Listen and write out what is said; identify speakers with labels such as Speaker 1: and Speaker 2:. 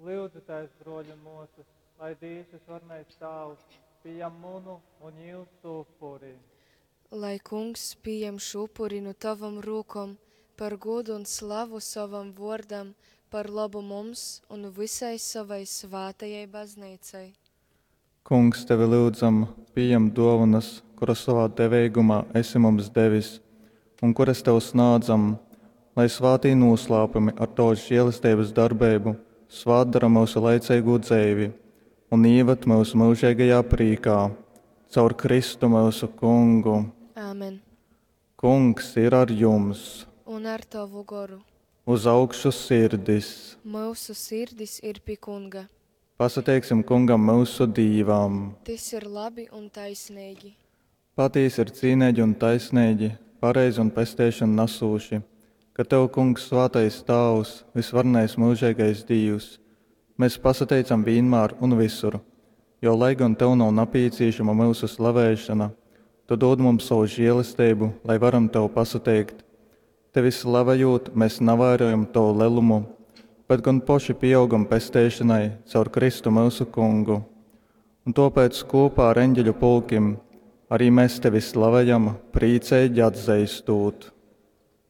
Speaker 1: Lyudzitēs, bruoļi un muosys, lai Dīvs Vysvarenais Tāvs pījam munu un jūsu upuri.
Speaker 2: Lai Kungs pījam šu upuri nu tovom rūkom par gūdu un slavu sovam vuordam, par lobu mums un vysai sovai svātajai Bazneicai.
Speaker 1: Kungs, tevi lyudzam, pījem dōvonas, kuras sovā deveigumā esi mums devis un kuras tev snādzam, lai svātī nūslāpumi ar tovas želesteibas darbeibu svātdora myusu laiceigū dzeivi un īvad myus myužeigajā prīkā. Caur Kristu myusu Kungu.
Speaker 2: Āmen.
Speaker 1: Kungs ir ar jums!
Speaker 2: Un ar tovu goru.
Speaker 1: Uz augšu sirdis!
Speaker 2: Myusu sirdis ir pi Kunga.
Speaker 1: Pasateiksim Kungam myusu Dīvam!
Speaker 2: Tys ir labi un taisneigi.
Speaker 1: Patīsi ir cīneigi un taisneigi, pareizi un pesteišonu nasūši, ka tev, Kungs, svātais Tāvs, vysvarenais myužeigais Dīvs, mes pasateicam vīnmār un vysur, jo, lai gon tev nav napīcīšama myusu slavēšona, tu dūd mums sovu želesteibu, lai varam tev pasateikt. Tevi slavejūt, mes navairojam tovu lelumu, bet gon poši pīaugam pesteišonai caur Kristu myusu Kungu. Un tōpēc kūpā ar eņģeļu pulkim ari mes tevi slavejam, prīceigi atzeistūt.